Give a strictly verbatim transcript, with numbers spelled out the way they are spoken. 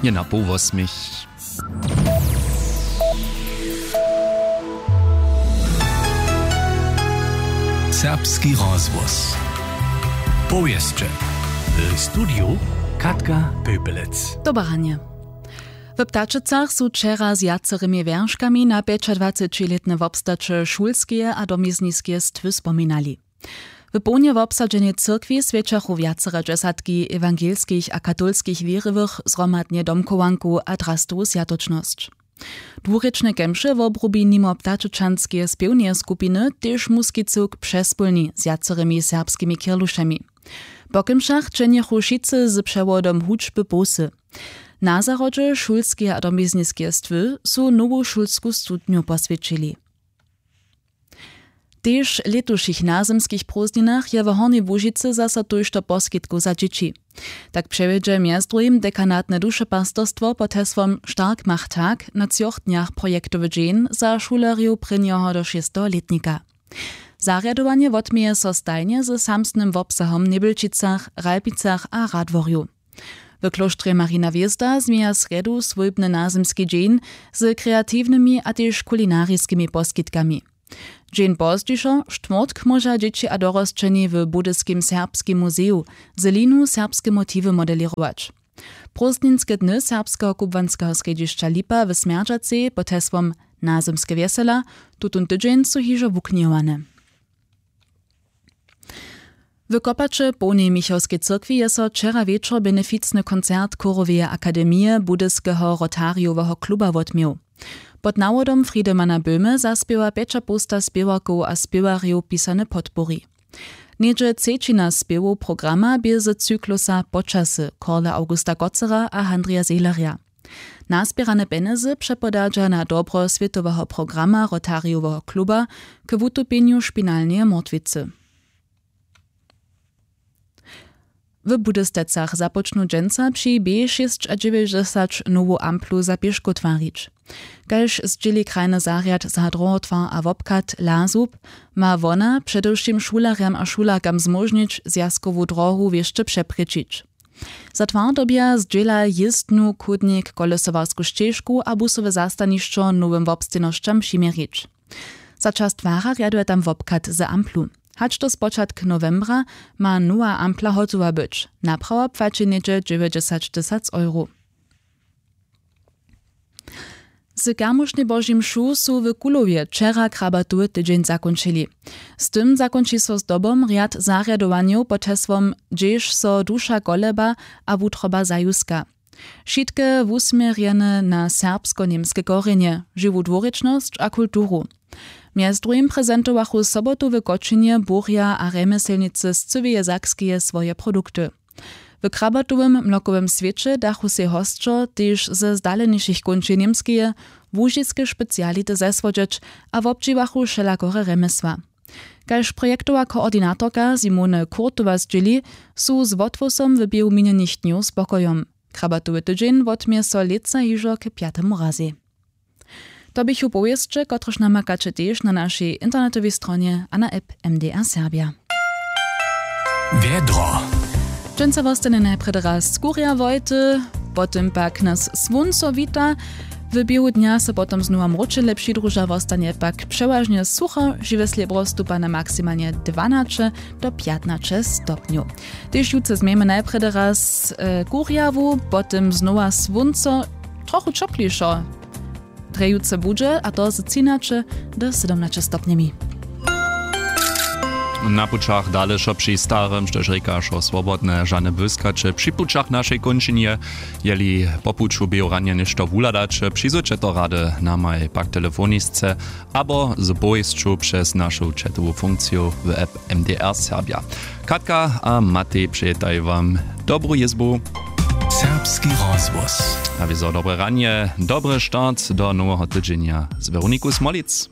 Je na poł wosmich. Serbski rozhłos. Powěsće. W studiju Katka Pepelec. Dobre ranje. W Ptačicach su wčera z wjacerymi wjerškami na pjećadwacećilětne wobstaće šulskeje a domizniskeje stwy spominali. W połnje wobsadźenej cyrkwi swjećachu wjacere dźesatki ewangelskich a katolskich wěriwych zhromadnje domchowanku a drastowu swjatočnosć. Dwurěčne kemše wobrubi nimo ptačočanskeje spěwneje skupiny tež muski cyłk přespólni z wjacerymi serbskimi kirlušemi. Po kemšach dźenjechu wšitcy z přewodom hudźby połsy. Na zahrodźe šulskeje a domizniskeje stwy su nowu šulsku studnju poswjećili. Tež w lětušich nazymskich prózdninach je w Hornjej Łužicy zaso tójšto poskitkow za dźěći. Tak přewjedźe mjez druhim dekanatne dušepastorstwo pod hesłom Stark macht tag na třoch dnjach projektowy dźeń za šulerjow prěnjeho do šesteho lětnika. Zarjadowanje wotměje so stajnje ze samsnym wobsahom w Njebjelčicach, Ralpicach a Radworju. W klóštrje Marina Hwězda změja srjedu swójbny nazymski dźeń z kreatiwnymi a tež kulinariskimi poskitkami. Dźeń pozdźišo, štwórtk, móža dźěći a dorosćeni w Budyskim serbskim muzeju z linu serbske motiwy modelěrować. Prózdninske dny serbskeho kubłanskeho srjedźišća Lipa w Smjerdźacej pod hesłom Nazymske wjesela tutón tydźeń su hižo wuknihowane. W Kopaće w połnej Michałskej cyrkwi je so wčera wječor beneficny koncert Chóroweje akademije Budyskeho Rotarijoweho kluba wotměł. Pod nawodom Friedemana Böhme zaspěwa pjećapołsta spěwarkow a spěwarjow pisane podpori. Něhdźe třećina spěwow programa bě z cyklusa Počasy Karla Augusta Kotzera a Handrija Zehlerja. Nazběrane pjenjezy přepodadźa na dobro swětoweho programa Rotarijoweho kluba k wutupjenju špinalneje mortwicy. W Budystecach započnu dźensa při B šěsćadźewjećdźesat nowu amplu za pěškow twarić. Kaž zdźěli krajny zarjad za druhotwar a wobchad Lazub, ma wona předewšěm šulerjam a šulerkam zmóžnić zwjazkowu dróhu wěsće přeprěčić. Za twar dyrbja zdźěla jězbnu, chódnik, kolesowarsku šćežku a busowe zastanišćo nowym wobstejnosćam přiměrić. Za čas twara rjaduje tam wobchad z amplu. Hač do spočatk nowembra ma nowa ampla hotowa być. Naprawa płaći něhdźe dźewjećdźesat tysac euro. Z kermušnjej Božej mšu su w Kulowje wčera krabatowy tydźeń zakónčili. Z tym zakónči so zdobom rjad zarjadowanjow pod hesłom Hdźež so duša koleba a wutroba zajuska. Wšitke wusměrjene na serbsko-němske korjenje, žiwu dwurěčnosć a kulturu. Mjez druhim prezentowachu sobotu w Kočinje burja a rjemjeslnicy z cyłeje Sakskeje swoje produkty. W krabatowym mlokowym swěće dachu sej hosćo tež ze zdalenišich kónčej Němskeje łužiske speciality zesłodźeć a wobdźěłachu wšelakore rjemjesła. Kaž projektowa koordinatorka Simone Kurtowa zdźěli, su z wothłosom w běhu minjenych dnjow spokojom. Krabatowy tydźeń wotměje so lětsa hižo k pjatemu razej. To běchu powěsće, kotrež namakaće tež na našej internetowej stronje a na app M D R Serbia. Wjedro. Dźensa wostanje najprjedy raz skurja wojty, potom pak nas słónco wita. W běhu dnja so potom znowa mróčele přidruža, wostanje pak přewažnje sucho, žiwe slěbro stupa na maksimalnje dwanaće do pjatnaće stopnjow. Tež jutře změjemy najprjedy raz e, kurjawu, potom znowa słónco, trochu ćoplišo. Drje jutře budźe, a to z třinaće do sydomnaće stopnjemi. Na pućach dale wšo při starym, štož rěka wšo swobodne, žane błyskaće při pućach w našej kónčinje. Jeli po puću běhu ranje něšto wuhladaće, přizwójće to rady namaj pak telefonisce abo z powěsću přez našu chatowu funkciju w app M D R Serbia. Katka a Matej přejetaju wam dobru jězbu. Serbski rozhłos. A wězo dobre ranje, dobry start do noweho tydźenja z Weroniku Smolic.